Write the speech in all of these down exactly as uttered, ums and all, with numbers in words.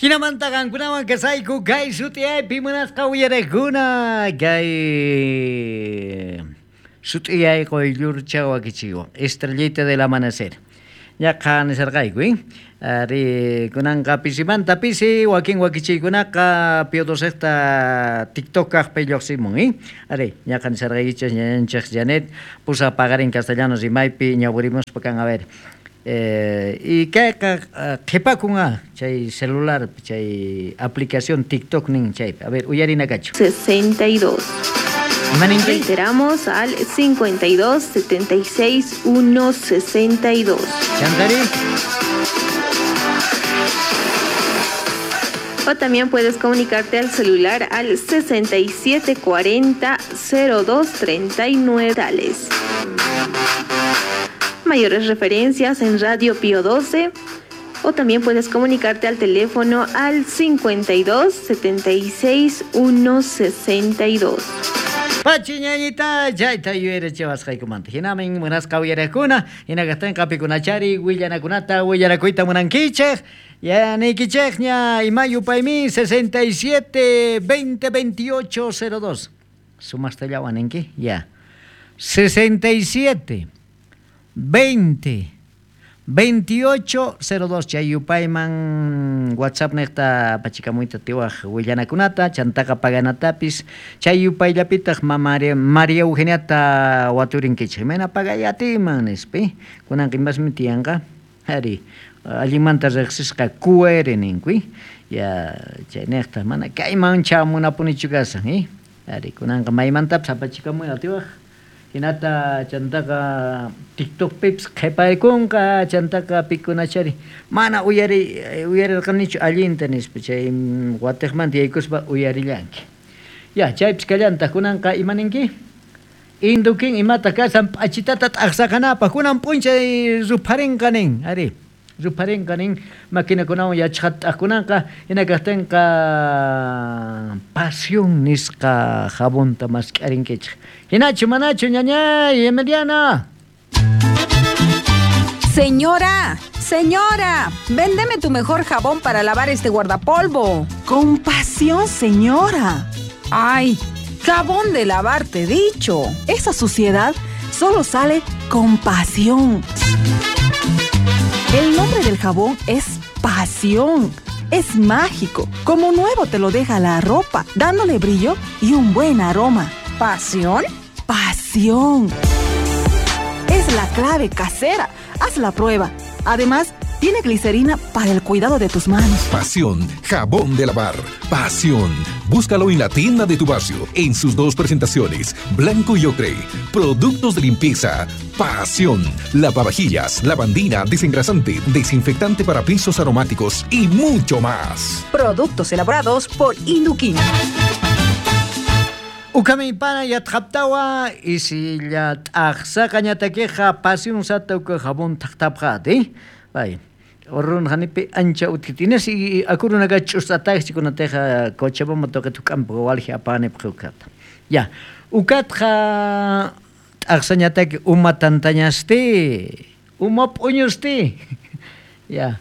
Hinamanta qankunawan kasayku kay sut'iyaypi munasqa uyariqkuna kay sut'iyay quyllurcha wakichiwan Estrellita del Amanecer. Ñaqa nisarqayku, eh? Ari kunanqa pisimanta pisi wakin wakichiykunaqa Pío Docejta TikTok kaqpi lluqsimun, eh? Ari ñaqa nisarqaykichis ñañanchik Janet pusa paqarin castellano rimaypi ñawirimuspa kan a ver. Eh, y kayqa qhipakun a chay celular chay aplicación TikTok nin chaypi. A ver, uyarina kachu. sesenta y dos. Reiteramos al cincuenta y dos, setenta y seis, uno, sesenta y dos. Chantari. O también puedes comunicarte al celular al sesenta y siete cuarenta, cero dos treinta y nueve. Tales. Mayores referencias en Radio Pío doce. O también puedes comunicarte al teléfono al cincuenta y dos, setenta y seis, uno, sesenta y dos. Pachi ñañita, chayta yuyarichiwasqaykumanta. Hinamin munasqa uyariqkuna, hinakaqtinqa pikunachari willanakunata willanakuyta munankichik. Ya niykichikña ima yupaymi sesenta y siete, veinte, veintiocho, cero dos. Sumastallawan ninki? Ya. sesenta y siete, veinte, veintiocho, cero dos. Chay yupayman WhatsApp niqta pachikamuyta tiwaj willanakunata, chantaqa paganatapis. Chay yupayllapitaq mama María Eugeniata waturinkichik. Imayna pagayatiman nispa. Kunanqa imasmi tiyanqa. Ari, allinmanta riqsisqa Q R ninku. Ya chay niqta mana kayman chamunapunichu kasan, eh? Ari, kunanqa maymantapis apachikamuy atiwaj. Hinata chantaqa TikTokpipis qhipaykunqa, chantaqa pikunachari mana uyari uyarirqanichu allinta nispa chay watiqmanta yaykuspa uyarillanki. Ya chaypis kallantaq kunanqa ima ninki? Indukin imata kasan p'achitata t'aqsaqanapaq kunan p'unchay rupharinqa nin, ari rupharinqa nin maquinakunawan yachaqata t'aqkunanqa hina kaqtinqa pasión nisqa jabonta mask'arinkichik. Hinachu manachu ñañay Emiliana. Señora, señora, véndeme tu mejor jabón para lavar este guardapolvo. Con pasión, señora. Ay, jabón de lavar, te he dicho. Esa suciedad solo sale con pasión. El nombre del jabón es Pasión. Es mágico. Como nuevo te lo deja la ropa, dándole brillo y un buen aroma. ¿Pasión? Pasión. Es la clave casera. Haz la prueba. Además, tiene glicerina para el cuidado de tus manos. Pasión, jabón de lavar. Pasión. Búscalo en la tienda de tu barrio, en sus dos presentaciones, blanco y ocre. Productos de limpieza. Pasión. Lavavajillas, lavandina, desengrasante, desinfectante para pisos aromáticos y mucho más. Productos elaborados por Induquín. Ukami pana yatqaptawa isilla t'aqsaqañatakiqa pasión satauka jabón taqtapqati. Bay. Orrun hanipi ancha utkitinas y akurunaqa ch'usataqchikunateqa Cochabamba toqetuk'ampa walji apanipaq ukata. Ya, ukatqa t'aqsañataki uma tantañasti, uma p'uñusti. Ya.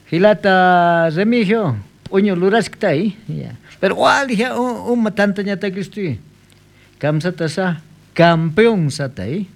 Hilata Remigio, p'uñu luraskta, ya. Pero walji uma tantañatakisti. Kamsata sa campeón sata, eh.